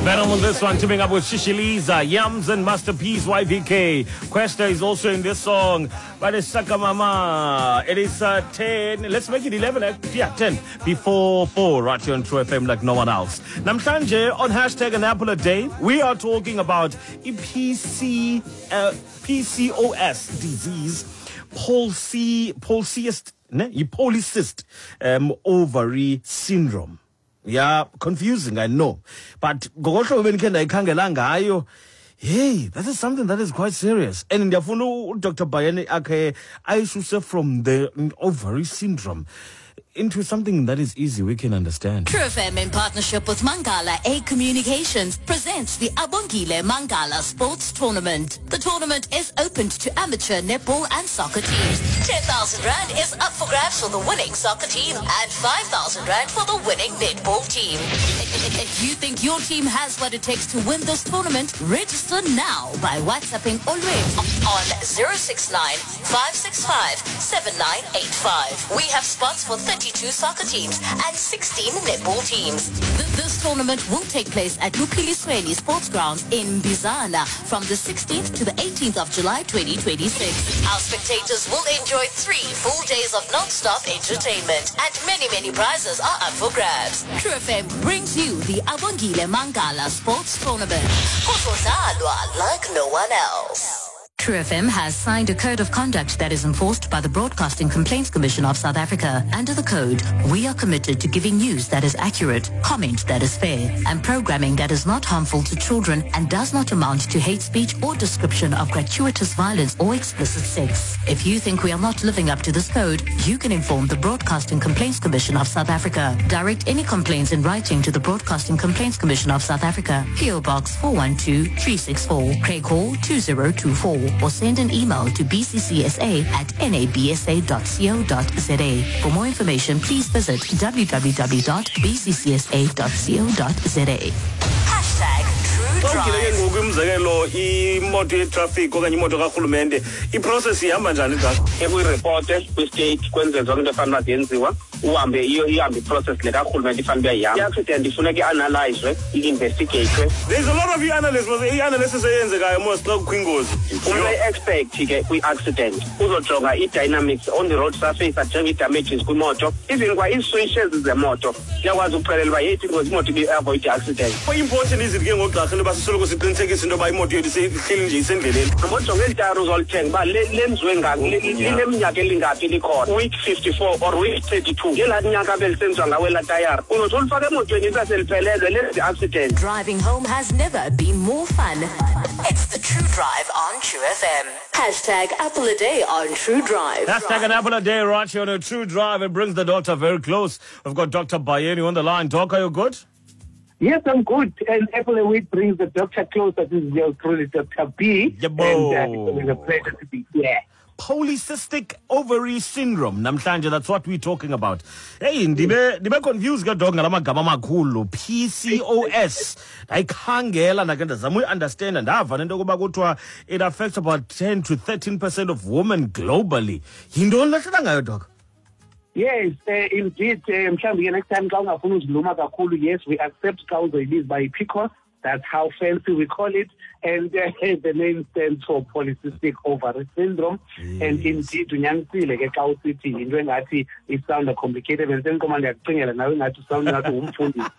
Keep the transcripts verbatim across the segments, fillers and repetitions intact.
Venom on this one, teaming up with Shishiliza, Yams and Masterpiece, Y V K. Questa is also in this song. But it's Saka Mama. It is uh, ten. Let's make it eleven. Uh, yeah, ten. Before four, right here on True F M like no one else. Namhlanje on hashtag an apple a day, we are talking about P C, uh, P C O S disease, polycyst, polycyst, ne? Polycyst, um, ovary syndrome. Yeah, confusing, I know. But hey, that is something that is quite serious. And Doctor Bayeni akhe ayisuse from the ovary syndrome into something that is easy we can understand. True F M in partnership with Mangala A Communications presents the Abongile Mangala Sports Tournament. The tournament is open to amateur netball and soccer teams. ten thousand rand is up for grabs for the winning soccer team and five thousand rand for the winning netball team. If you think your team has what it takes to win this tournament, register now by WhatsApping Olwethu on zero six nine, five six five, seven nine eight five. We have spots for thirty-two soccer teams and sixteen netball teams. This tournament will take place at Lupilisweni Sports Grounds in Bizana from the sixteenth to the eighteenth of July twenty twenty-six. Our spectators will enjoy three full days of non-stop entertainment and many, many prizes are up for grabs. True F M brings you the Abongile Mangala Sports Tournament. Like no one else. True F M has signed a code of conduct that is enforced by the Broadcasting Complaints Commission of South Africa. Under the code, we are committed to giving news that is accurate, comment that is fair, and programming that is not harmful to children and does not amount to hate speech or description of gratuitous violence or explicit sex. If you think we are not living up to this code, you can inform the Broadcasting Complaints Commission of South Africa. Direct any complaints in writing to the Broadcasting Complaints Commission of South Africa, P O Box four one two three six four, Craig Hall two zero two four. Or send an email to b c c s a at n a b s a dot co dot z a. For more information, please visit w w w dot b c c s a dot co dot z a. Hashtag True Drive. Ngoku umzekelo imoto yetraffic okanye imoto karhulumente, iprocess ihamba njani xa ekuyireporte kwi-state kwenze zonke into efanele uba ziyenziwa, uhambe iyo ihambe iprocess le karhulumente ifanele uba iyihamba. I-accident ifuneka i-analyzwe, i-investigatwe. There's a lot of i-analysis, i-analysis eyenzekayo mos xa kukho ingozi. Umntu oyi-expect ke kwi-accident uzojonga i-dynamics on the road surface, ajonge i-damages kwimoto, even kwa ii-switches zemoto ziyakwazi ukuxelela uba yeyiphi ingozi imoto ibi-avoid i-accident. How important is it ke ngoku gqirha into yoba sisoloko siqinisekise into yoba imoto yethu ihleli nje isendleleni? Ngojonga eli tayari uzolithenga uba lenziwe lineminyaka elingaphi likhona, week fifty-four or week thirty-two, ngelaa nyaka belisenziwa ngawo elaa tayari, uzothi ulifake emotweni isaseliphelelwe lenze i-accident. Driving home has never been more fun. It's the True Drive on True F M. Hashtag Apple a Day on True Drive. Hashtag an Apple a Day right here on a True Drive. It brings the doctor very close. We've got Doctor Bayeni on the line. Doc, are you good? Yes, I'm good. And Apple a Week brings the doctor closer. This is yours truly, Doctor B. Yebo. And uh, it's a pleasure to be here. Polycystic ovary syndrome. Namhlanje, that's what we're talking about. Hey, ndibe ndibe confused ke dog ngalamagama amakhulu. P C O S. Ndayikhangela ndake ndazama uyi-understand, ndava nento yokuba kuthiwa it affects about ten to thirteen percent of women globally. Yintoni lehlala ngayo, dog? Yes, uh, indeed. Mhlawumbi ke next time xa ungafuni uziluma kakhulu, yes, we accept xa uzoyibiza uba yi-P C O S. That's how fancy we call it. And uh, the name stands for polycystic ovary syndrome. Yes. And indeed, unyanisile ke xa usithi yinto engathi isound complicated. And senqoma ndiyakucingela nawe ingathi usound ngathi ngumfundisi.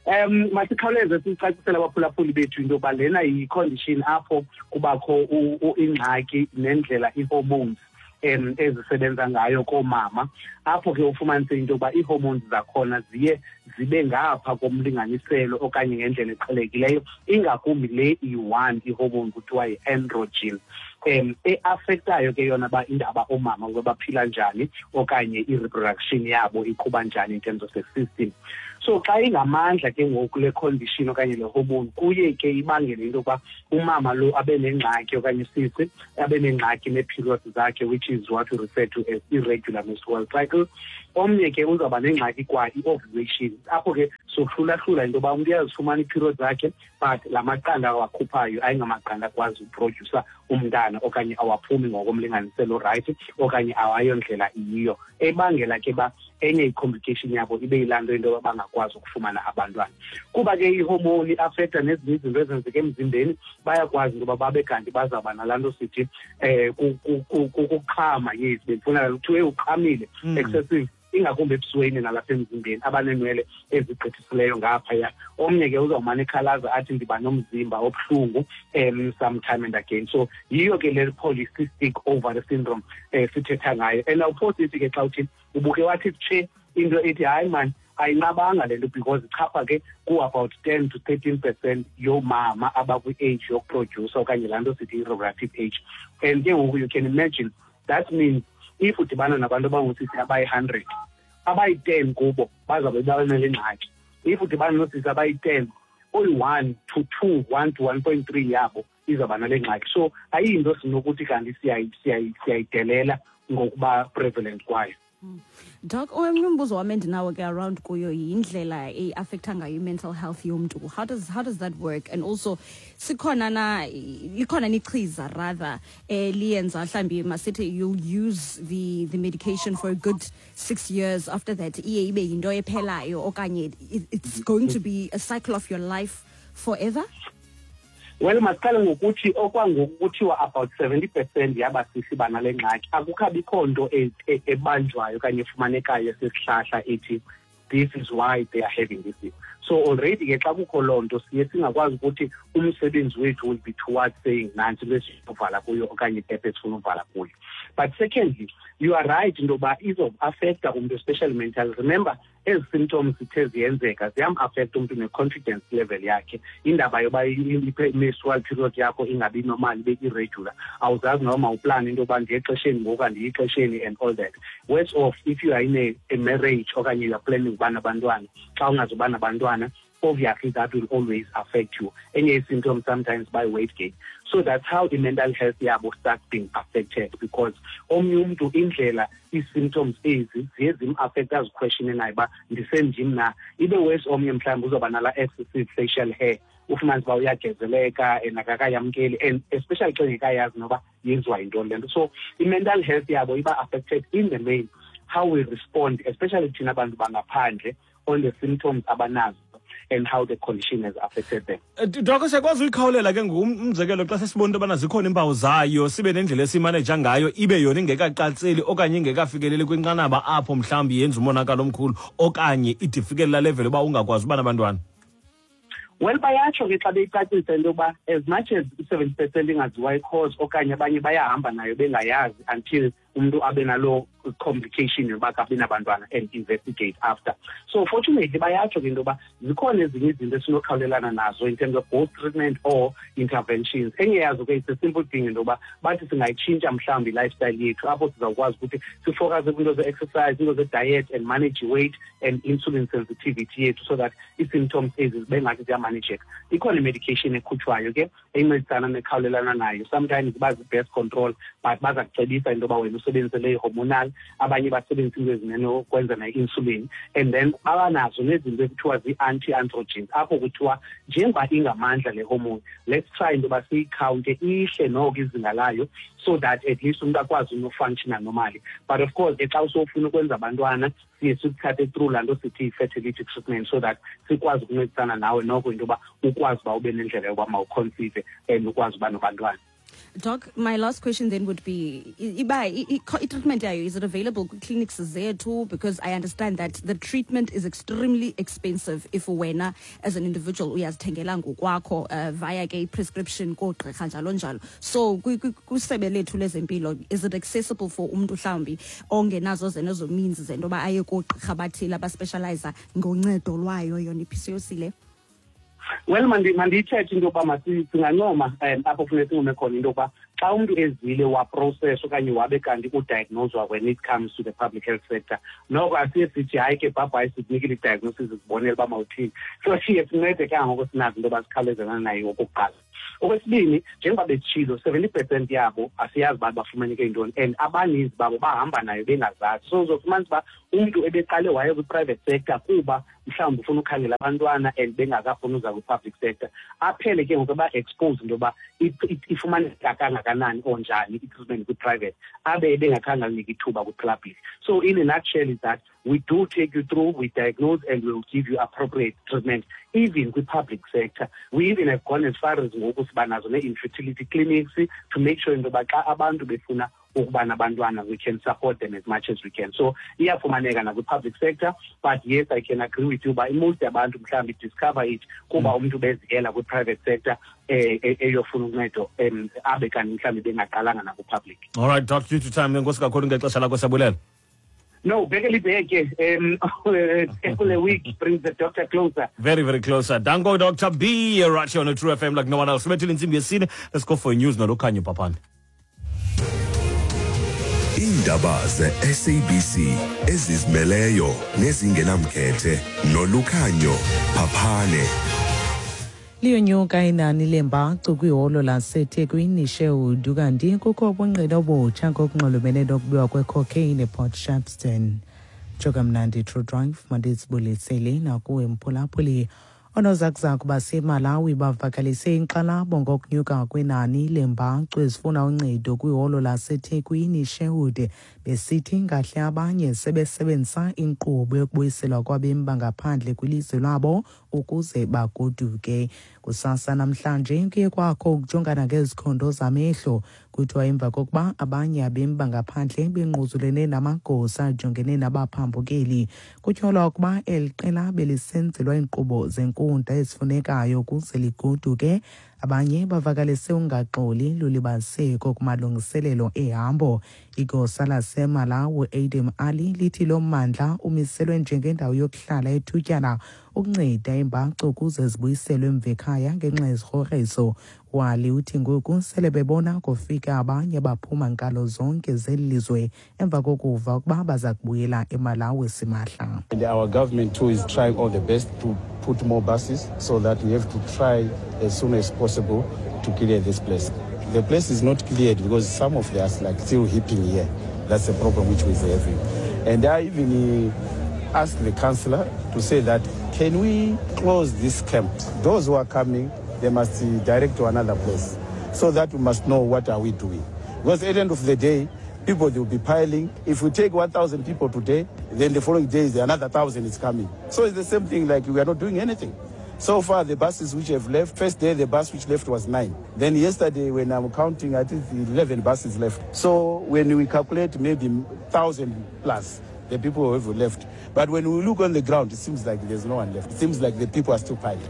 Um, masikhawuleze sicacisele abaphulaphuli bethu into yoba lena yi-condition apho kubakho ingxaki nendlela ii-hormones um ezisebenza ngayo koomama, apho ke ufumanise into yokuba ii-hormones zakhona ziye zibe ngapha komlinganiselo okanye ngendlela eqhelekileyo, ingakumbi le iyi-one i-hormone kuthiwa yi-androgen, um e-affectayo ke yona ba indaba oomama ukuba baphila njani okanye i-reproduction yabo iqhuba njani in terms of the system. So xa ingamandla ke ngoku le condition okanye le hormone, kuye ke ibangele into yokuba umama lo abe nengxaki okanye sisi abe nengxaki nee-periods zakhe, which is what we refer to as irregular menstrual cycle. Omnye ke uzawuba nengxaki kwa i-ovulation, apho ke sohlulahlula into yoba umntu uyazifumana ii-periods zakhe but la maqanda awakhuphayo ayingamaqanda akwazi uprodyusa umntana okanye awaphumi ngokomlinganiselo right okanye awayondlela iyiyo, ebangela ke ba Enye i-complication yabo ibe yilaa nto into yoba bangakwazi ukufumana abantwana. Kuba ke ihormone i-affecta nezinye izinto ezenzeka emzimbeni, bayakwazi into yoba babe kanti bazawuba nalaa nto sithi um kukuqhama. Yes, bendifuna kuthiwe uqhamile, excessive, ingakumbi ebusweni nalapha emzimbeni, abaneenwele ezigqithisileyo ngaphaya. Omnye ke uzawumane ekhalaza athi ndiba nomzimba obuhlungu um sometime and again. So yiyo ke le polycystic ovary syndrome um sithetha ngayo. And awuphosisi ke xa uthi ubuke wathi tshe into ethi hayi man, ayinqabanga le nto, because ichapha ke ku-about ten to thirteen percent yoomama abakwi-age yokuprodyusa okanye laa nto sithi i-reproductive age. And ke ngoku you can imagine, that means if udibana nabantu abangoosisi abayi-hundred, abayi-ten kubo bazawube banale ngxaki. If udibana noosisi abayi-ten, oyi-one to two, one to one point three yabo izawuba nale ngxaki. So ayiyinto sinokuthi kanti siyayidelela ngokuba prevalent kwayo. Doc, omnye umbuzo wam endinawo ke around kuyo yindlela e-affecta ngayo i-mental health yomntu. How does, how does that work? And also, sikhona na, likhona nichiza rather, eliyenza mhlambi masithi you'll use the, the medication for a good six years. After that, iye ibe yinto ephelayo okanye it's going to be a cycle of your life forever? Well, masiqale ngokuthi okwangoku kuthiwa about seventy percent yabasisi banale ngxaki. Akukabikho nto ebanjwayo okanye efumanekayo esisihlahla ethi this is why they are having this. So already ke xa kukho loo nto siye singakwazi ukuthi umsebenzi wethu will be towards saying nantsi into esifuna kuyo okanye itephe esifuna uvala kuyo. But secondly, you are right into yoba izoaffecta umntu, especially mental. Remember, ezi symptoms zithe ziyenzeka ziyam-affecta umntu ne-confidence level yakhe. Indaba yoba i-menstrual period yakho ingabi normal, ibe irregular, awuzazi noba mawuplane into yoba ndiye exesheni ngoku andiyi exesheni and all that. Worse off, if you are in a, a marriage okanye you are planning uba nabantwana, xa ungazuba nabantwana, obviously that will always affect you. Enye symptoms sometimes by weight gain. So that's how the mental health yabo starts being affected, because omnye umntu indlela ii-symptoms ezi ziye zim-affecta aziquestione naye uba ndisendim na. Ibe worse omnye mhlawumbi uzawuba nala excessive facial hair, ufumanise uba uyagezeleka and akakayamkeli, and especially xa engekayazi noba yenziwa yintoni le nto. So i-mental health yabo iba affected in the main, how we respond, especially thina bantu bangaphandle, on the symptoms abanazo and how the condition has affected them. Doc, siyakwazi uyikhawulela ke ngumzekelo xa sesibona into yobana zikhona iimpawu zayo, sibe nendlela esimaneja ngayo, ibe yona ingekaqatseli okanye ingekafikeleli kwinqanaba apho mhlawumbi yenza umonakalo omkhulu okanye ide ifikelela level uba ungakwazi uba nabantwana? Well, bayatsho ke xa beyicacisa into yoba as much as i-seventy percent ingaziwa i-cause okanye abanye bayahamba nayo bengayazi until umntu abe naloo complication yoba akabi nabantwana and investigate after. So fortunately bayatsho ke into yoba zikhona ezinye izinto esinokhawulelana nazo in terms of both treatment or interventions. Enye yazo ke it's a simple thing into yoba bathi singayitshintsha mhlawumbi i-lifestyle yethu apho sizawukwazi ukuthi sifocuse kwiinto ze-exercise, iinto ze-diet and manage weight and insulin sensitivity yethu so that ii-symptoms ezi zibe ngathi ziyamanejeka. Ikhona i-medication ekhutshwayo ke encedisana nekhawulelana nayo. Sometimes iba zi-birth control, but baza kucebisa into yoba wena usebenzise le hormonal, abanye basebenzisa into ezinenokwenza ne-insulin, and then abanazo nezinto ekuthiwa zii-anti-androgens apho kuthiwa njengoba ingamandla le hormone, let's try into yoba siyikhawunte ihle noko izinga layo so that at least umntu akwazi unofunctiona normally. But of course ke xa usofuna ukwenza abantwana siye sikuthathe through laa nto sithi i-fertility treatment so that sikwazi ukuncedisana nawe noko into yoba ukwazi uba ube nendlela yoba mawuconceive and ukwazi uba nabantwana. Doc, my last question then would be, iba i-treatment yayo, is it available clinics zethu? Because I understand that the treatment is extremely expensive if wena as an individual uyazithengela ngokwakho uh, via ke prescription koogqirha njalo njalo. So kwisebe lethu lezempilo, is it accessible for umntu mhlawumbi ongenazo zenezo means zento yoba aye koogqirha bathile abaspecializa ngoncedo lwayo yona i-P C O S le? Well, mandiyithethe into yoba singancoma um apho funeka sincome khona into yokuba xa umntu ezile waprocess okanye wabe kanti udiagnoswa when it comes to the public health sector, noko asiye sithi hayi ke bhabhayi sikunikile i-diagnosis sibonele uba mawuthini. So siye sincede ke ngoku sinazo into yoba sikhawulezana nayo okokuqala. Okwesibini, njengoba besitshilo, seventy percent yabo asiyazi uba bafumaneke ntoni, and abaninzi babo bahamba nayo bengazazi. So uzofumanisa uba umntu ebeqale waye kwi-private sector kuba mhlawumbi ufuna ukhangela abantwana and bengakafuni uza kwi-public sector, aphele ke ngoku eba-expose into yoba ifumaneka kangakanani or njani i-treatment kwi-private, abe ebengakhange alinike ithuba kwi-public. So in a nutshell is that we do take you through, we diagnose and we will give you appropriate treatment, even kwi-public sector. We even have gone as far as ngoku siba nazo nee-infertility clinics to make sure into yoba xa abantu befuna ukuba nabantwana, we can support them as much as we can. So iyafumaneka nakwi-public sector, but yes, I can agree with you, but most abantu mhlawumbi discover it kuba umntu beziyela kwi-private sector eyofuna uncedo abe kanti mhlawumbi bengaqalanga nakwi-public. All right, Doc, due to time, enkosi kakhulu ngexesha lakho, siyabulela. No, bhekele ibheke. Um, the week brings the doctor closer. Very, very closer. Danko, Doctor B, right here on the True F M like no one else. Let's go for news now. Lukhanyo Papane. Iindaba ze-S A B C ezizimeleyo nezingenamkhethe noLukhanyo Papane. Liyonyuka inani lembacu kwiholo laseThekwini Sherwood, kanti kukho ubungqina obutsha ngokunxulumene nokubiwa kwecocaine ePort Shepstone. Jokamnandi True Drive mandisibulisele nakuwe mphulaphuli. Oonozakuzaku baseMalawi bavakalise inkxalabo ngokunyuka kwenani lembacu ezifuna uncedo kwiholo laseThekwini Sherwood, besithi ngahle abanye sebesebenzisa inkqubo yokubuyiselwa kwabemi bangaphandle kwilizwe lwabo ukuze bagoduke. Kusasa namhlanje kuye kwakho ukujongana ngezikhondo zamehlo, kuthiwa emva kokuba abanye abemi bangaphandle bengquzulene namagosa ajongene nabaphambukeli. Kutyholwa ukuba eli qela belisenzelwa iinkqubo zenkundla ezifunekayo ukuze ligoduke. Abanye bavakalise ungaxoli lulibaziseko kumalungiselelo ehambo. Igosa laseMalawi Adam Ali lithi lo mmandla umiselwe njengendawo yokuhlala ethutyana ukunceda iimbacu ukuze zibuyiselwe emva ekhaya ngenxa yezigrogriso. Wali uthi ngoku sele bebona kufika abanye baphuma nkalo zonke zeli lizwe emva kokuva ukuba baza kubuyela eMalawi simahla. And our government too is trying all the best to put more buses so that we have to try as soon as possible to clear this place. The place is not cleared because some of us like still heaping here. That's the problem which we're having. And I even asked the councillor to say that, can we close this camp? Those who are coming, they must direct to another place so that we must know what are we doing. Because at the end of the day, people, they will be piling. If we take one thousand people today, then the following days, another one thousand is coming. So it's the same thing, like we are not doing anything. So far, the buses which have left, first day, the bus which left was nine. Then yesterday, when I'm counting, I think eleven buses left. So when we calculate, maybe one thousand plus, the people who have left. But when we look on the ground, it seems like there's no one left. It seems like the people are still piling.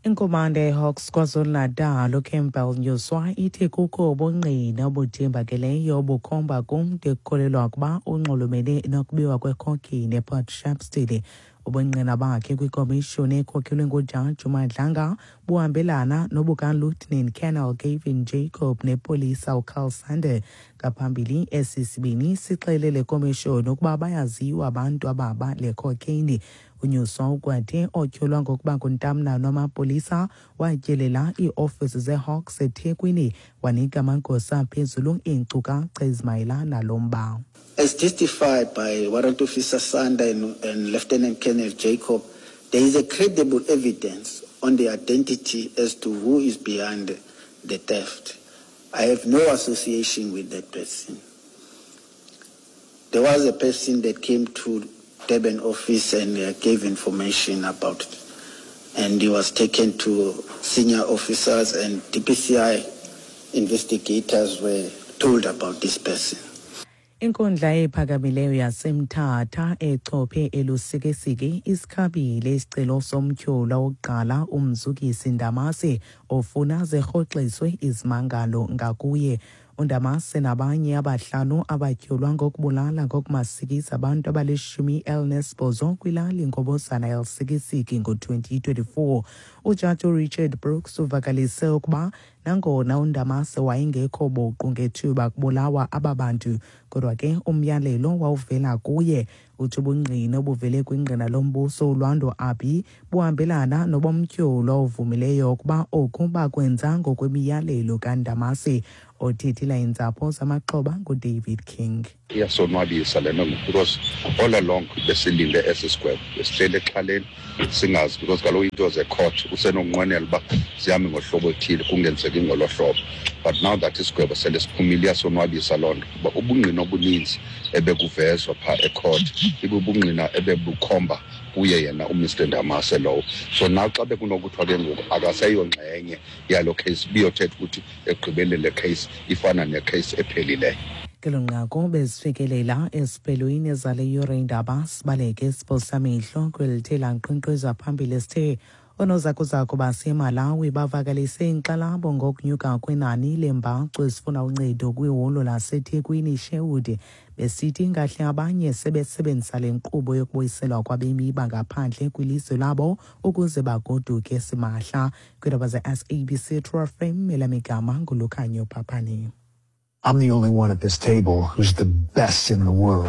Inkomanda yeHawks KwaZulu-Natal uCampbell Nyuswa ithi kukho ubungqina obuthembakeleyo obukhomba kumntu ekukholelwa ukuba unxulumene nokubiwa kwecocaine ePort Shepstone. Ubungqina bakhe kwikomishoni ekhokhelwe nguJaji uMadlanga buhambelana nobukaLieutenant Colonel Gavin Jacob nepolisa uCarl Sander. Ngaphambili esi sibini sixelele komishoni ukuba bayaziwa abantu ababa le cocaine. uNyuswa ukwathe otyholwa ngokuba nguntamnani wamapolisa watyelela iiofisi zeHawks eThekwini wanika amagosa aphezulu iinkcukacha ezimayelana nalo mba. As testified by Warrant Officer Sander and, and Lieutenant Colonel Jacob, there is a credible evidence on the identity as to who is behind the theft. I have no association with that person. There was a person that came to Durban office and uh, gave information about it. And he was taken to senior officers, and D P C I investigators were told about this person. Inkundla ephakamileyo yaseMthatha echophe eLusikisiki isikhabile isicelo somtyholwa wokuqala uMzukisi Ndamase ofuna zirhoxiswe izimangalo ngakuye. Undamase nabanye abahlanu abatyholwa ngokubulala ngokumasikizi abantu abalishumi elinesibhozo kwilali Ngobozana eLusikisiki ngo-twenty twenty-four. Ujaji uRichard Brooks uvakalise ukuba nangona uNdamase wayengekho buqu ngethuba kubulawa aba bantu, kodwa ke umyalelo wawuvela kuye. Uthi ubungqina obuvele kwingqina lombuso uLwando Abi buhambelana nobomtyholwa ovumileyo ukuba oku bakwenza ngokwemiyalelo kaNdamase. Othethela iintsapho zamaxhoba nguDavid King. Iyasonwabisa le nto because all along besilinde esi sigwebo, besihleli exhaleni singazi, because kaloku into zecourt usenokunqwenela uba zihambe ngohlobo oluthile kungenzeki ngolo hlobo. But now that isigwebo sele siphumile, iyasonwabisa loo nto kuba ubungqina obuninzi ebekuvezwa phaa ecourt ibubungqina ebebukhomba kuye yena uMr Ndamase lowo. So now xa bekunokuthiwa ke ngoku akaseyongxenye yalo case, biyothetha ukuthi ekugqibeleni le case ifana necase ephelileyo. Ngelo nqaku bezifikelela esiphelweni zale yure iindaba. Sibaleke siphosamehlo kwelithe lankqenkqeza phambili sithe oonozakuzaku baseMalawi bavakalise inkxalabo ngokunyuka kwenani leembacu ezifuna uncedo kwiholo laseThekwini iSherwood, besithi ingahle abanye sebesebenzisa le nkqubo yokubuyiselwa kwabemi bangaphandle kwilizwe labo ukuze bagoduke simahla. Kwiindaba ze-S A B C True F M, elamigama nguLukhanyo Phaphane. I'm the only one at this table who's the best in the world.